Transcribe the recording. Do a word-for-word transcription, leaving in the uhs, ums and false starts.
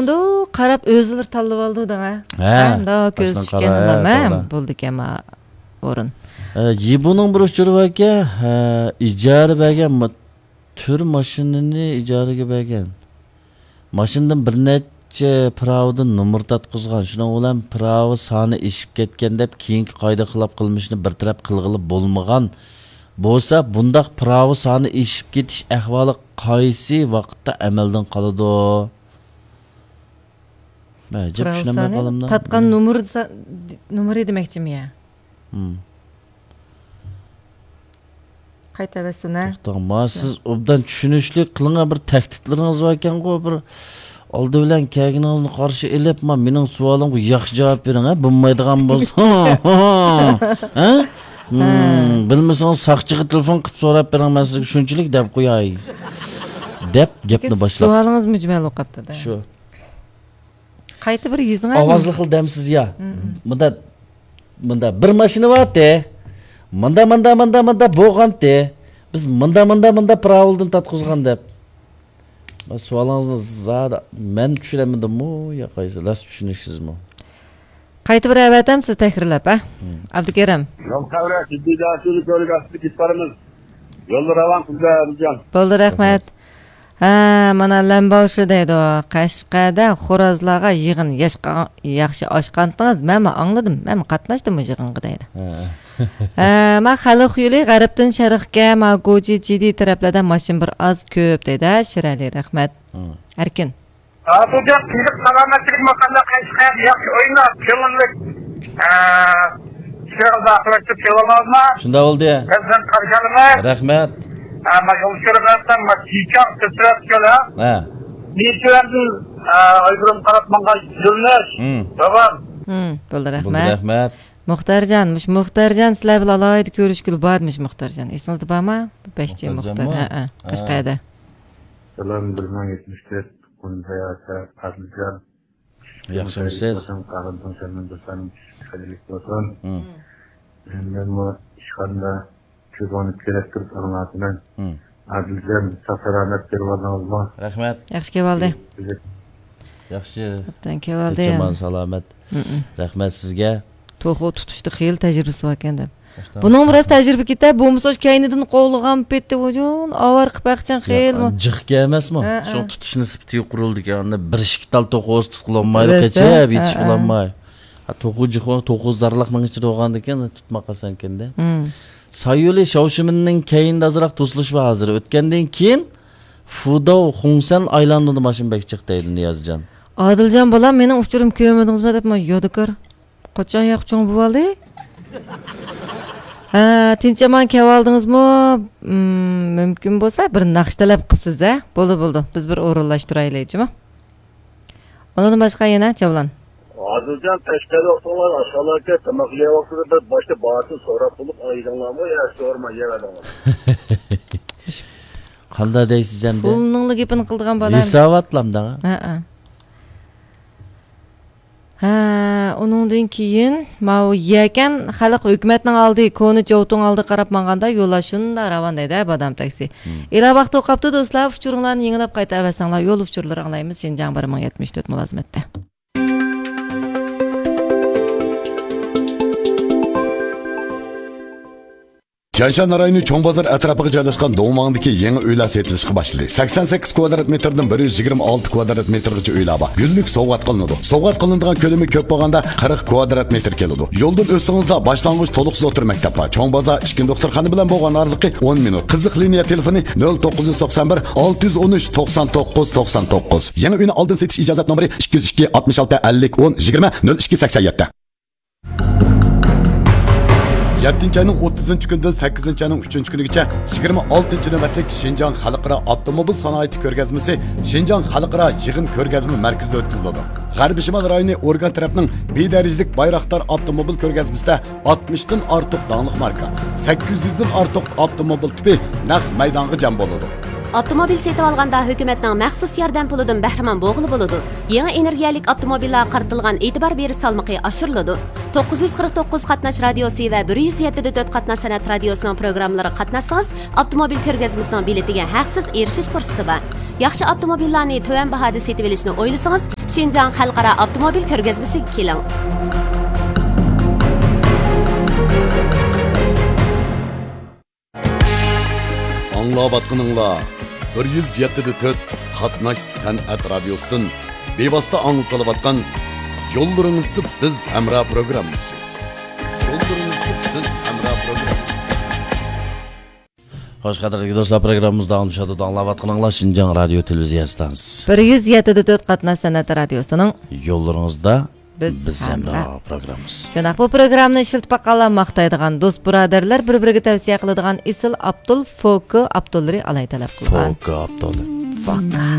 ئۇنداق قاراپ ئۆزلىرى تاللىۋالىدۇ دەڭە. ھە، ھە، مۇنداق كۆز باشتىن چۈشكەن قارا، ھە، ئادام، ھە، توغرا. بولىدىكەن ما ئورۇن. ئە، يىبۇنىڭ بىر ئۇچۇرى باركەن، ھە، ئىجارە بەرگەن ما-، تۈر ماشىنىنى ئىجارىگە بەرگەن. ماشىنىدىن بىر نەچچە پىراۋىدىن نومۇر تارتقۇزغان. شۇنىڭ بىلەن پىراۋا سانى ئېشىپ كەتكەن دەپ، كېيىنكى قائىدە خىلاپ قىلمىشنى بىر تەرەپ قىلغىلى بولمىغان بولسا، بۇنداق پىراۋا سانى ئېشىپ كېتىش ئەھۋالى قايسى ۋاقىتتا ئەمەلدىن قالىدۇ؟ ئەجەب چۈشىنەلمەي قالدىم. تارتقان نومۇر، نومۇرى دېمەكچىمۇ يا؟ ھىم. قايتىۋەتسۇن، ھە؟ توختاڭ، ما، سىز ئوبدان چۈشىنىشلىك قىلىڭ، بىر تەھدىتلىرىڭىز باركەنغۇ، بىر ئالدى بىلەن كەلگىنىڭىزنى قارشى ئېلىپ، ما، مېنىڭ سوئالىمغا ياخشى جاۋاب بېرىڭ، ھە؟ بولمايدىغان بولسا، ھە؟ ھىم، بىلمىسىڭىز ساقچىغا تېلېفون قىلىپ سوراپ بېرىڭ، مەن سىزگە شۇنچىلىك دەپ قوياي، دەپ گەپنى باشلاپ. سوئالىڭىز مۈجمەل بولۇپ قاپتۇ-دە. شۇ. قايتا بىر يېزىڭ، ئاۋازلىق خىل دەمسىز يا. مم. مۇندا، مۇندا بىر ماشىنا بارتى. مۇندا، مۇندا، مۇندا، مۇندا بولغانتى. بىز مۇندا، مۇندا، مۇندا پىراۋىلدىن تارتقۇزغان دەپ. بۇ سوئالىڭىزنى زادى مەن چۈشىنەلمىدىممۇ يا قايسى؟ راست چۈشىنىشسىزمۇ؟ قايتا بىر ئەۋەتەم، سىز تەكرارلاپ، ھە؟ مم. ئابدۇكېرىم. يول قەۋرە، جىددىي دەرسىنى كۆرگەستە كېتىپ بارىمىز. يولدا راۋان قىلىمىز، ئەبىجان. بولدى، رەھمەت. ھە، مانا لەمباۋشى دەيدۇ. قەشقەردە خورازلارغا يىغىن ياشقا-، ياخشى ئاچقانتىڭىز، مەنمۇ ئاڭلىدىم، مەنمۇ قاتناشتىم بۇ يىغىنغا دەيدۇ. ھە. ھە، ما خەلق يولى غەربتىن شەرقكە، ما گوجى جىدى تەرەپلەردە ماشىنا بىر ئاز كۆپ دەيدۇ. ھە، شىرئەلى، رەھمەت. ھە. ئەركىن. ھازىرجان، تىنچلىق، سالامەتلىك، مۇقەددەس قەشقەردە ياخشى ئويناپ، كۆڭۈللۈك، ئە، ئىشلىرىڭىزنى ئاخىرلاشتۇرۇپ كېلىۋالدىڭىزمۇ؟ شۇنداق بولدى. بىز سىزنى قارشى ئالىمىز. رەھمەت. ئە، ما يول ئۇچۇرىغا قارىسام، ما چىچاڭ، سىرسىرەت كۆلى. ھە. نېچە يەردىن، ئە، ئايرىم قاراپ ماڭغان يۆنىلىش. ھىم. داۋام. ھىم، بولدى، بولدى، رەھمەت. رەھمەت. مۇختارجان، مۇشۇ مۇختارجان سىلەر بىلەن ئالاھىدە كۆرۈشكىلى بار ئەدىمىش مۇختارجان. ئېسىڭىزدە بارمۇ؟ بەشچى مۇختارجانمۇ؟ مۇختار. ھە، ھە. ھە. قەشقەردە. سالام، بىر مىڭ يەتمىش تۆت. قۇنزاياسە قادىرجان. ياخشىمۇسىز؟ قەلبىڭ سەندىن دوستلارنىڭ چۈشۈشى خەيرلىك بولسۇن. ھىم. مەنمۇ ئىشخانىدا كۆزۈڭنى كۆرۈپ تۇرۇپ ئاڭلاۋاتىمەن. ھىم. ئادىلجان، ساق سالامەت كېلىۋالدىڭىزمۇ؟ رەھمەت. ياخشى كېلىۋالدى. ياخشى. ئوبدان كېلىۋالدى. تىنچ-ئامان، سالامەت. ھىم. رەھمەت سىزگە. توخۇ تۇتۇشتا خېلى تەجرىبىسى باركەن دەپ. بۇنىڭ بىراز تەجرىبە كېتە، بولمىسا كەينىدىن قوغلىغان پېتى ۋۇجۇن، ئاۋارە قىلىپ بەقچەن خېلىمۇ. جىق ئەمەسمۇ؟ ھە، ھە. شۇ تۇتۇش نىسبىتى يۇقىرىلىدىكەن. ئاندىن بىر ئىككى تال توخۇ تۇتقىلى بولمايدۇ، قېچىپ يېتىشىپ بولالماي. ھە، توخۇ جىق، توخۇ زارلىقنىڭ ئىچىدە بولغاندىكىن تۇتماي قالساڭكەندە. سايولى شاۋشىمىننىڭ كەينىدە ئازراق توسۇلۇش بار ھازىر. ئۆتكەندىن كېيىن فۇداۋ خۇڭسەن ئايلاندىدا ماشىنا بەك جىق دەيدۇ نىيازجان. ئادىلجان بالام، مېنىڭ ئۇچۇرۇمنى كۆرمىدىڭىزمۇ دەپ، ما يادىكار. قاچان ياق چوڭ بولالدى؟ ھە، تىنچ-ئامان كېلىۋالدىڭىزمۇ؟ مم، مۇمكىن بولسا بىر ناخشا تەلەپ قىپسىز، ھە؟ بولدى، بولدى. بىز بىر ئورۇنلاشتۇرايلى، جۇمۇ. ئۇنىڭدىن باشقا يەنە جەۋلان. ئادىلجان، تەشكىلات ئوقۇڭلار، ئاشخانىلارغا تاماق يەۋاقسىز، بىر باشتا بارسىز سوراپ بولۇپ ئايدىڭلارمۇ يا سورىماي يەۋەردىڭلار؟ قانداق دەيسىز ئەمدى؟ پۇلنىڭلا گېپىنى قىلىدىغان بالا. ھېساباتلامدا. ھە، ھە. ھە، ئۇنىڭدىن كېيىن ماۋۇ يەكەن خەلق ھۆكۈمەتنىڭ ئالدى، كونا جوۋتۇڭ ئالدىغا قاراپ ماڭغاندا يوللار شۇنداق راۋان دەيدۇ، بادام تاكسى. ھىم. ئېلا ۋاقىت قاپتۇ دوستلار، ئۇچۇرۇڭلارنى يېڭىلاپ قايتا ئەۋەتسەڭلار، يول ئۇچۇرلىرى ئاڭلايمىز شىنجاڭ بىر مىڭ يەتمىش تۆت مۇلازىمەتتە. تيەنشان رايونى چوڭ بازار ئەتراپىغا جايلاشقان دۇڭۋاڭدىكى يېڭى ئۆيلەر سېتىلىشقا باشلىدى. سەكسەن سەككىز كۋادرات مېتىردىن بىر يۈز يىگىرمە ئالتە كۋادرات مېتىرغىچە ئۆيلەر بار. گۈللۈك سوۋغات قىلىنىدۇ. سوۋغات قىلىنىدىغان كۆلىمى كۆپ بولغاندا قىرىق كۋادرات مېتىر كېلىدۇ. يولدىن ئۆتسىڭىزلا باشلانغۇچ تولۇقسىز ئوتتۇرا مەكتەپ بار. چوڭ بازار ئىككىنچى دوختۇرخانا بىلەن بولغان ئارىلىقى ئون مىنۇت. قىزىق لىنىيە تېلېفونى نۆل توققۇز يۈز توقسان بىر، ئالتە يۈز ئون ئۈچ، توقسان توققۇز، توقسان توققۇز. يېڭى ئۆينى ئالدىن سېتىش ئىجازەت نومۇرى ئىككى يۈز ئىككى، ئاتمىش ئالتە، ئەللىك، ئون، يىگىرمە، نۆل ئىككى، سەكسەن يەتتە. يەتتىنچى ئاينىڭ ئوتتۇزىنچى كۈنىدىن سەككىزىنچى ئاينىڭ ئۈچىنچى كۈنىگىچە يىگىرمە ئالتىنچى نۆۋەتلىك شىنجاڭ خەلقئارا ئاپتوموبىل سانائىتى كۆرگەزمىسى شىنجاڭ خەلقئارا يىغىن كۆرگەزمە مەركىزىدە ئۆتكۈزۈلىدۇ. غەربىي شىمال رايونى ئورگان تەرەپنىڭ بىر دەرىجىلىك بايراقدار ئاپتوموبىل كۆرگەزمىسىدە ئاتمىشتىن ئارتۇق داڭلىق ماركا، سەككىز يۈزدىن ئارتۇق ئاپتوموبىل تىپى نەق مەيدانغا جەم بولىدۇ. ئاپتوموبىل سېتىۋالغاندا ھۆكۈمەتنىڭ مەخسۇس ياردەم پۇلىدىن بەھرىمەن بولغىلى بولىدۇ. يېڭى ئېنېرگىيەلىك ئاپتوموبىللارغا قارىتىلغان ئېتىبار بېرىش سالمىقى ئاشۇرۇلىدۇ. توققۇز يۈز قىرىق توققۇز قاتناش رادىيوسى ۋە بىر يۈز يەتتە دە تۆت قاتناش سەنئەت رادىيوسىنىڭ پروگراممىلىرىغا قاتناشسىڭىز، ئاپتوموبىل كۆرگەزمىسىنىڭ بېلىتىگە ھەقسىز ئېرىشىش پۇرسىتى بار. ياخشى ئاپتوموبىللارنى تۆۋەن باھادا سېتىۋېلىشنى ئويلىسىڭىز، شىنجاڭ خەلقئارا ئاپتوموبىل كۆرگەزمىسىگە كېلىڭ. ئاڭلاۋاتقىنىڭلار بىر يۈز يەتتە دە تۆت قاتناش سەنئەت رادىيوسىدىن بىۋاسىتە ئاڭلىتىلىۋاتقان يوللىرىڭىزدا بىز ھەمراھ پروگراممىسى. يوللىرىڭىزدا بىز ھەمراھ پروگراممىسى. خوش، قەدىرلىك دوستلار، پروگراممىمىز داۋاملىشىۋاتىدۇ. ئاڭلاۋاتقىنىڭلار شىنجاڭ رادىيو تېلېۋىزىيە ئىستانسىسى. بىر يۈز يەتتە دە تۆت قاتناش سەنئەت رادىيوسىنىڭ يوللىرىڭىزدا بىز بىز ھەمراھ. ھەمراھ پروگراممىسى. شۇنداق، بۇ پروگراممىنى ئىشلىتىپ باققانلار ماختايدىغان، دوست بۇرادەرلەر بىر-بىرىگە تەۋسىيە قىلىدىغان ئېسىل ئابدۇل فوكو ئابدۇللىرى ئالاھىدە تەلەپ قىلغان. فوكو ئابدۇللىرى. فوكو.